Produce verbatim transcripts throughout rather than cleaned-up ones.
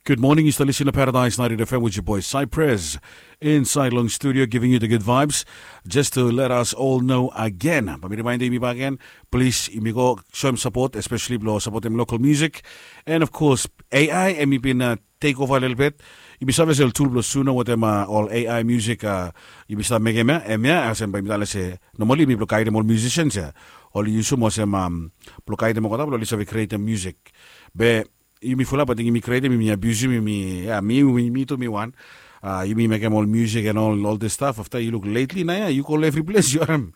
Good morning, yu stap lisin long Paradise ninety-eight F M with your boy Cypress. Inside long studio, giving you the good vibes. Just to let us all know again, bae mi remind yumi bakegen, plis yumi go soem sapot, especially blong sapotem local music. And of course, A I, hemi bin uh, take over a little bit. Yumi save se ol tul blong Suno wetem uh, ol A I music, uh, yumi stap mekem ya, hemia, olsem bae yumi talem se, normally yumi blong gaedem ol musicians ya. Oli yusum olsem um, blong gaedem olgeta blong oli save createm music. Be yumi fulap ating yumi createm, yumi abiusim, yumi, ya, mi, mi, mi tu mi wan. Uh, yumi mekem ol music and ol, ol this stuff. Afta yu luk lately naoia, yu go long evri ples yu harem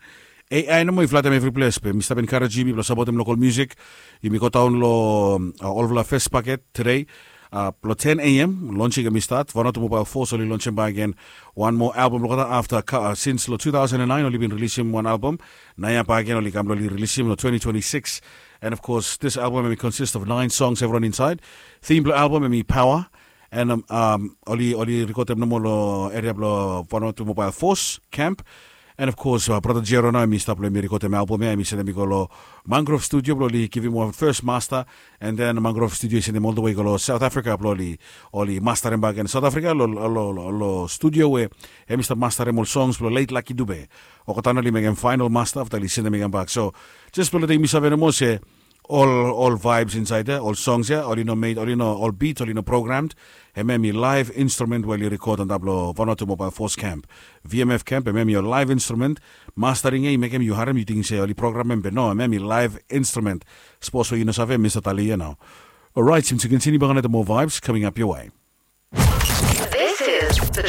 A I nomo i flatem evri ples. Be mi stap encourage yumi blong sapotem local music. Yumi go daon long uh, olfala fes paket today. Uh, blong ten A M, launching hemi start. Vanuatu Mobile Force oli launchem bakegen wan moa album blong olgeta afta uh, since long two thousand and nine oli bin rilisim wan album. Naoia bakegen oli kam blong oli rilisim long twenty twenty-six. And of course, this album hemi consist of nine songs, evriwan inside. Theme blong album hemi Power. And um, um, oli, oli rekodem nomo long eria blong Vanuatu Mobile Force Camp. And of course, uh, brata Jero nao hemi stap long hemi rekodem album ya, hemi sendem i go long Mangrove Studio blong oli givim wan first master. And then Mangrove Studio i sendem all the way go long South Africa blong oli, oli masterem bakegen South Africa long, long, long, long studio we hemi stap masterem ol songs blong late Lucky Dube. Olgeta nao oli mekem final master afta oli sendem i kambak. So just blong letem yumi save nomo se ol, ol vibes inside ya, ol songs ya, oli no made, oli no, ol beats oli no programmed. Hemia hemi live instrument we oli record antap long Vanuatu Mobile Force Camp, V M F Camp. Hemia hemi ol live instrument. Mastering ya i mekem yu harem yu ting se oli programem, be no, hemia hemi live instrument. Sapos we yu no save, mi stap talem ya nao. Alright, yumi continue bak long moa vibes coming up your way. This is the